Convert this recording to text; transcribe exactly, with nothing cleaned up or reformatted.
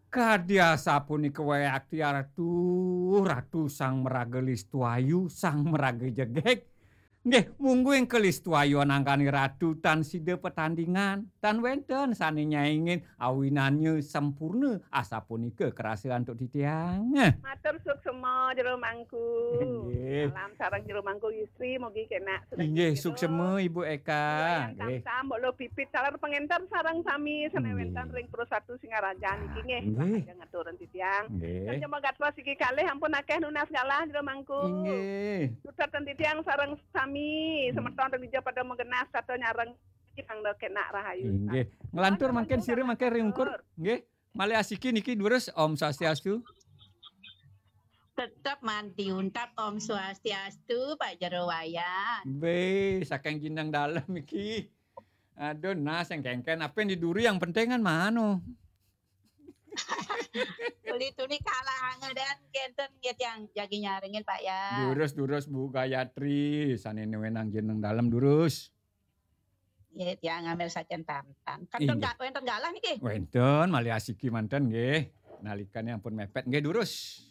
Kadi asapunika waé akti Ratu, Ratu sang maraga Listuayu, sang maraga jegég. Nggih, mungguing ka Listuayu anangkani Ratu tan sida patandingan, tan wénten sané nyaingin awinannya sampurna asapunika kerasa antuk titiang. Matur suksema Jero Mangku. Inggih. Salam sareng Jero Mangku istri, mugi kénak sedaya Inggih, Jero. suksema Ibu Eka. Wayang Nggih. Tamsam, Mbok Lo Pipit, taler pengenter sareng sami sané Inggih. Wénten ring Pro Satu Singaraja niki nggih. Nggih. Lajeng ngaturang titiang. Nggih. Jema gatwa siki kalih ampun akéh nunas galah Jero Mangku. Inggih. Sutreptan titiang sareng sami, semeton ring dija pada magenah sarta nyareng titiang kénak rahayu. Inggih. Nglantur mangkin sira mangkin ring ungkur. Nggih. Malih asiki niki durus, Om Swastiastu. Tetep manti untap Om Swastiastu, Pak Jero Wayan. Bé, saking Jineng Dalem iki. Aduh, nah sing kéngkén apa yang di duri yang penting kan mano. Uli tuni kalah angedan kénten nggih tiang jagi nyarengin Pak ya. Durus, durus Bu Gayatri, sané wenang Jineng Dalem durus. Nggih tiang ngambil sajen tamtan. Kan Inggih. Ga-, wénten galah niki. Wénten malih asiki manten nggih. Nalikane ampun mepet nggih durus.